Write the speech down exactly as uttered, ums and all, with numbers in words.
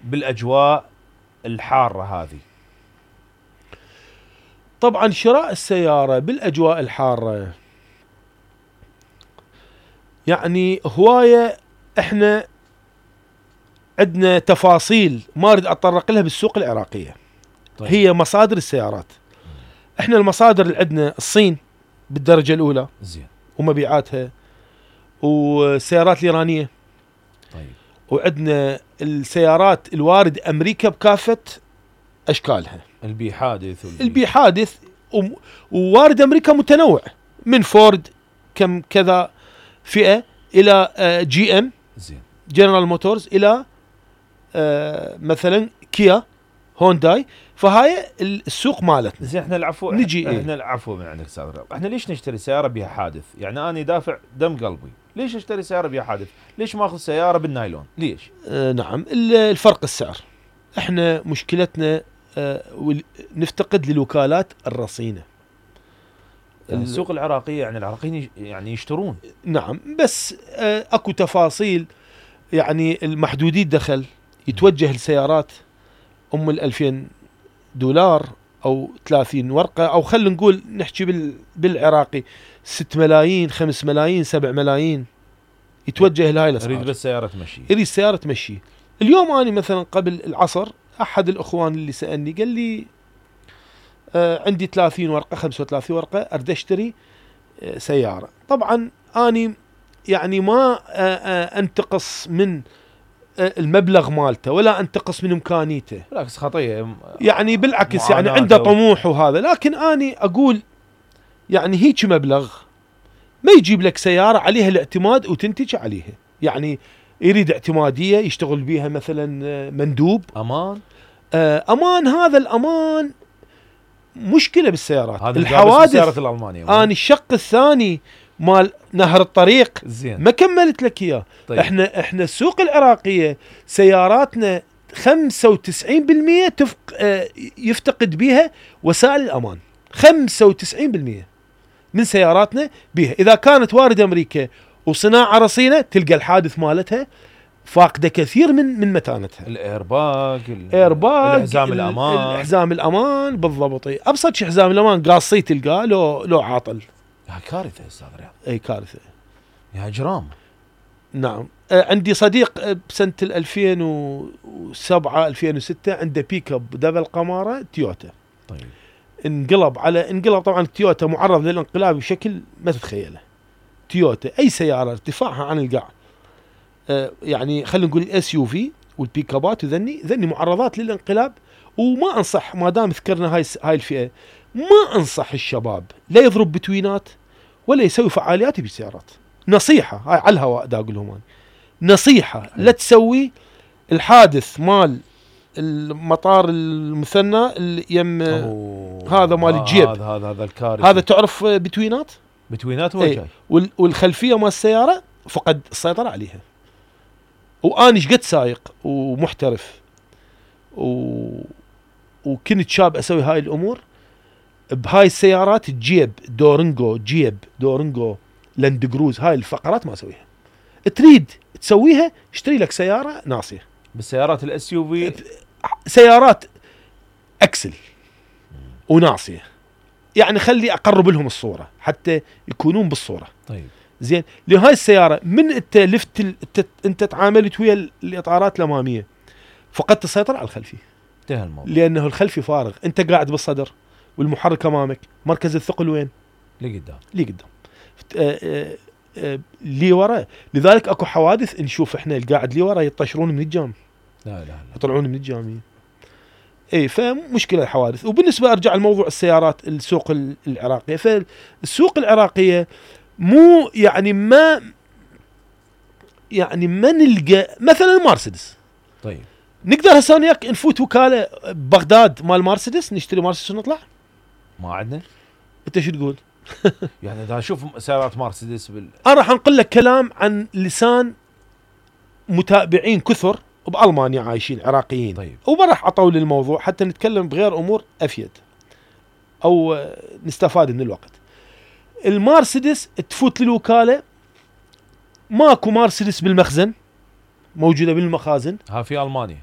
بالاجواء الحاره هذه؟ طبعا شراء السياره بالاجواء الحاره يعني هوايه، احنا عندنا تفاصيل ما اريد اتطرق لها بالسوق العراقيه. طيب. هي مصادر السيارات. احنا المصادر اللي عندنا الصين بالدرجه الاولى زين ومبيعاتها، والسيارات الايرانيه. طيب. وعندنا السيارات الوارد امريكا بكافه اشكالها، البي حادث والبي البي حادث، ووارد امريكا متنوع من فورد كم كذا فئه الى جي ام زين جنرال موتورز الى مثلا كيا هونداي. فهاي السوق مالتنا. زين احنا العفو نجي احنا ايه؟ العفو من عندك استاذ رياض، احنا ليش نشتري سياره بها حادث؟ يعني انا دافع دم قلبي، ليش اشتري سياره بها حادث؟ ليش ما اخذ سياره بالنايلون؟ ليش؟ آه نعم، الفرق السعر. احنا مشكلتنا آه نفتقد للوكالات الرصينه. يعني السوق العراقيه يعني العراقيين يعني يشترون. نعم، بس آه اكو تفاصيل، يعني المحدودي الدخل يتوجه لسيارات ام الألفين دولار او ثلاثين ورقه، او خلينا نقول نحكي بالعراقي ست ملايين خمس ملايين سبع ملايين، يتوجه لهاي الاسعار. يريد بس سياره تمشي، يريد السياره تمشي. اليوم انا مثلا قبل العصر احد الاخوان اللي سالني قال لي آه عندي ثلاثين ورقه خمسة وثلاثين ورقه اريد اشتري آه سياره. طبعا اني يعني ما آه آه انتقص من المبلغ مالته ولا انتقص من امكانيته، بالعكس خطيه يعني بالعكس يعني عنده طموح وهذا، لكن اني اقول يعني هيك مبلغ ما يجيب لك سياره عليها الاعتماد وتنتج عليها. يعني يريد اعتماديه يشتغل بيها مثلا مندوب، امان. امان، هذا الامان مشكله بالسيارات. هذا الحوادث السيارات الالمانيه. اني الشق الثاني مال نهر الطريق زين ما كملت لك اياه. طيب. احنا احنا السوق العراقيه سياراتنا خمسة وتسعين بالمئة تفق اه يفتقد بها وسائل الامان. خمسة وتسعين بالمئة من سياراتنا بها، اذا كانت وارد امريكا وصناعه رصينه تلقى الحادث مالتها فاقده كثير من من متانتها. الايرباج الايرباج الحزام الامان الحزام الامان بالضبط. ابسط شيء حزام الامان قاصي تلقاه لو لو عاطل. هاي كارثه استاذ رياض، اي كارثه يا اجرام. نعم. آه عندي صديق بسنه ألفين وسبعة ألفين وستة عنده بيك اب دبل قماره تويوتا. طيب. انقلب على انقلب طبعا التويوتا معرض للانقلاب بشكل ما تتخيله. تويوتا اي سياره ارتفاعها عن القاع آه يعني خلينا نقول الاس يو في والبيك ابات وذني ذني معرضات للانقلاب. وما انصح ما دام ذكرنا هاي هاي الفئه، ما انصح الشباب لا يضرب بتوينات ولا يسوي فعاليات بالسيارات. نصيحه هاي على الهواء دا اقول لهم نصيحه، لا تسوي الحادث مال المطار المثنى اللي يم هذا مال الجيب. هذا هذا هذا الكارثه. هذا تعرف بتوينات بتوينات هو جاي والخلفيه مال السياره فقد السيطره عليها. واني شقد سايق ومحترف و... وكنت شاب اسوي هاي الامور بهاي السيارات. الجيب دورنجو جيب دورنجو لاند كروز هاي الفقرات ما اسويها. تريد تسويها اشتري لك سياره ناصيه. بالسيارات الاس يو في سيارات اكسل وناصيه، يعني خلي اقرب لهم الصوره حتى يكونون بالصوره. طيب زين. لهاي السياره من انت لفت ال... انت تعاملت ويا الاطارات الاماميه فقدت السيطره على الخلفي. انتهى الموضوع، لانه الخلفي فارغ، انت قاعد بالصدر والمحرك امامك، مركز الثقل وين؟ لي قدام لي قدام آه آه آه لي ورا. لذلك اكو حوادث نشوف احنا القاعد لي ورا يطشرون من الجام، لا لا لا يطلعون من الجاميه. اي فمشكله الحوادث. وبالنسبه ارجع لموضوع السيارات السوق العراقيه، فالسوق العراقيه مو يعني ما يعني ما نلقى مثلا المرسيدس. طيب نقدر هسه وياك نفوت وكاله بغداد مال مرسيدس نشتري مرسيدس ونطلع؟ ما عندنا. انت شو تقول؟ يعني اذا اشوف سيارات مرسيدس بال... انا راح انقل لك كلام عن لسان متابعين كثر بالمانيا عايشين عراقيين. طيب. وما راح اطول الموضوع حتى نتكلم بغير امور افيد او نستفاد من الوقت. المرسيدس تفوت للوكاله ماكو مرسيدس بالمخزن، موجوده بالمخازن. ها في المانيا